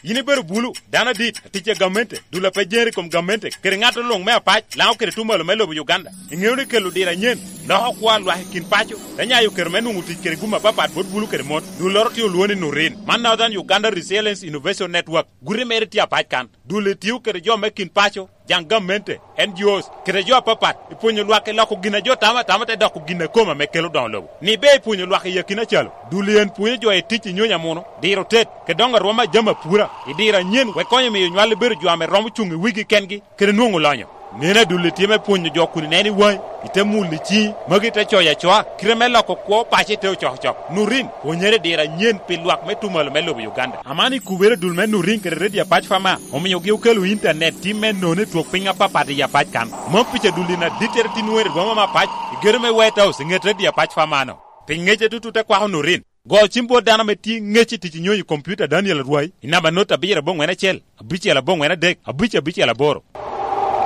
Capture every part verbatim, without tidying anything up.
Yin ibedo bulu, dano adit, atic a gamente, dul a pe jere i kom gamente, kede ŋat luŋ me apac, Laŋo kede Tumalo me lobo Uganda. Iŋeo ni kelo diro anyen loko kwo a lwak i kin paco, te nyayo kero me nwoŋo tic kede gum apapat bot bulu kede mon. Dulloro tye olwoŋo ni Nurin. Man Northern Uganda Resilience Innovation Network. Guti mere tye apac kan. Dul etio kede jo me kin paco, jaŋ gamente, N G Os, kede jo apapat, i pwonyo lwak i loko gin a jo tamo atama te doko gin a kome ame kelo doŋo lobo. Ni be i pwonyo lwak i akina calo, dul en pwonyo jo i tic i nyonyo amuno, diro tet, kede doŋo arwom a jami apura, i diro anyen wek konyo miyo nywal bedo jo ame romo cuŋ i wigi kengi, kede nwoŋo lonyo. Neno adulli tye me pwonyo jo kun ineno i waŋi, ite mulo i ciŋi, magi te coyo acoa, kite me loko kwo paco ite ocokocok. Nurin, pwonyere i diro anyen pi lwak me Tumalo me lobo Uganda. Aman i kubere dul me Nurin kede Redio Apac Fama, omiogi okelo intanet tim me nono i twok piny apapat i Apac kan. Mom pica dul in adittere tin nwoŋere i boma me Apac, i gedo me White House, i ŋet Redio Apac Fama-no. Pi ŋecce tutu te kwako Nurin. Go cim bot dano ame tye ŋec i tic i nyonyo i kompiuta Daniel Arwai, i namba not abiro aboŋwen acel, abicel aboŋwen adek, abic abicel aboro.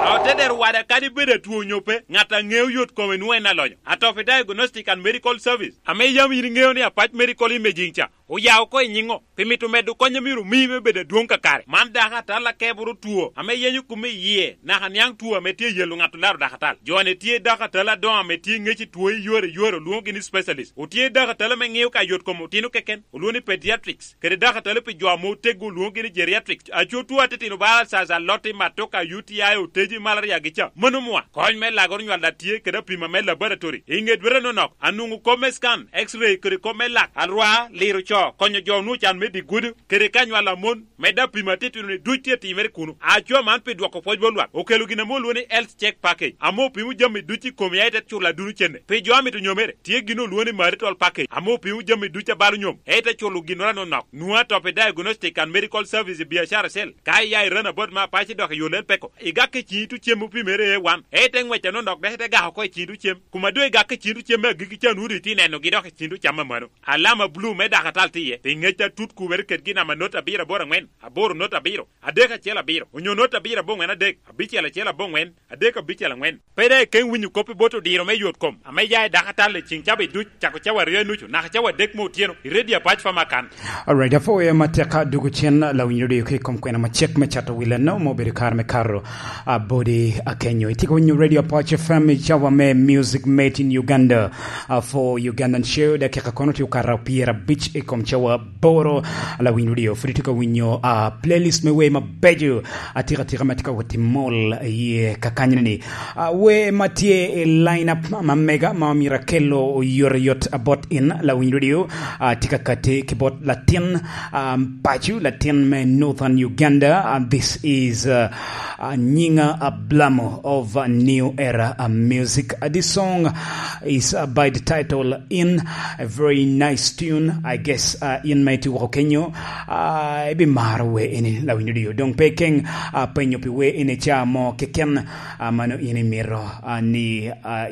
Aotedero wada kadi bed atwo onyo pe, ŋat a ŋeo yot kome nwoŋo en alonyo. Atopi Diagnostic and Medical Service, ame yam yin iŋeo ni Apac Medical Imaging ca, oya oko i nyiŋo, pi mito medo kony a myero omi me bedo adwoŋ kakare. Man dako atal akeboro two, ame yenyo kome i yie, naka niaŋ two ame tye yelo ŋat olaro dako atal. Jo-ni tye dako atal adoŋo ame tye ŋec i two i yore i yore, olwoŋogi ni specialist. Otye dako atal ame ŋeo ka yot kom otino keken, olwoŋo ni pediatrics, kede dako atal pi jo ame oteggo, olwoŋogi ni geriatrics. Aco two atitino bala caca, lotti, matoka, U T I, oteji, malaria gi ca. Mano mwa. Kony me lagoro nywal a tye kede apima me laboratory. I ŋet wete nonok, anwoŋo kop me scan, X-ray, kede kop me lak, alwar, liro co, konyo jo onwoŋo can me dye gudo, kede ka nywal a mon, medde apima atitino-ni duc tye timere kuno. Aco man pi dwoko pwoc bot lwak, okelo gin ame olwoŋo ni Health Check Package, ame opimo jami duc i komi, a ite culo aduno cene. Pi jo a mito nyomere, tye gin olwoŋo ni Marital Package, ame opimo jami duc a balo nyom, a ite culo ginnoro anonok. Nwoŋo atop i Diagnostic and Medical Service i Biacara Cell, ka iya i Ranabot me Apac idok i yo Lel Peko, igak i ciŋ itu cem opimere A one, a ite ŋwec anonok dok ite gako oko i ciŋ itu cem. Kuma doŋ igak i ciŋ itu cem me agikki ca, nwoŋo doŋ itye nenogi dok i ciŋ itu cam amano. Alama bulu me dako atal tye iye, pi ŋec atut kubere kedgi namba not abiro aboro aŋwen, aboro not abiro, adek acel abiro, onyo not abiro aboŋwen adek, abicel acel aboŋwen, adek abicel aŋwen. Pe daŋ ikeŋ winyo kop i bot odiro me yot kom, ame ya i dako atal i ciŋ cawa duc, cako cawa aryo i nucu, naka cawa adek me otyeno, i Redio Apac Fama kan. Alright, apwoyo matek dwogo cen lawinyo redio ki i kom kwena macek me cato wi leno, ma obedo kare me kato, ah, bodi akenyo. Itye ka winyo Radio Apac F M i cawa me Music Made in Uganda, ah, for Ugandan Show, dakika kono tye okato pyerabic i kom cawa aboro. Lawiny redio, pwod itye ka winyo, ah, playlist me wer mabeco, atika tika ma tye ka wot i mol iye kakanyoni. Ah, wer ma tye i line up ma mega ma myero akelo oyotoyot bot in, lawiny redio, ah, tye ka kati ki bot latin, ah, paco, latin me Northern Uganda. Ah, this is, ah, ah, Nyinga Ablamo of, ah, New Era, ah, Music. Ah, this song is, ah, by the title In, a very nice tune, I guess. Ah, in ma itye woko kenyo, ah, ibimaro wer eni, lawiny redio. Doŋ pe ikeŋ, ah, penyo pi wer eni ca mo keken, ah, mano in imito, ah, ni, ah,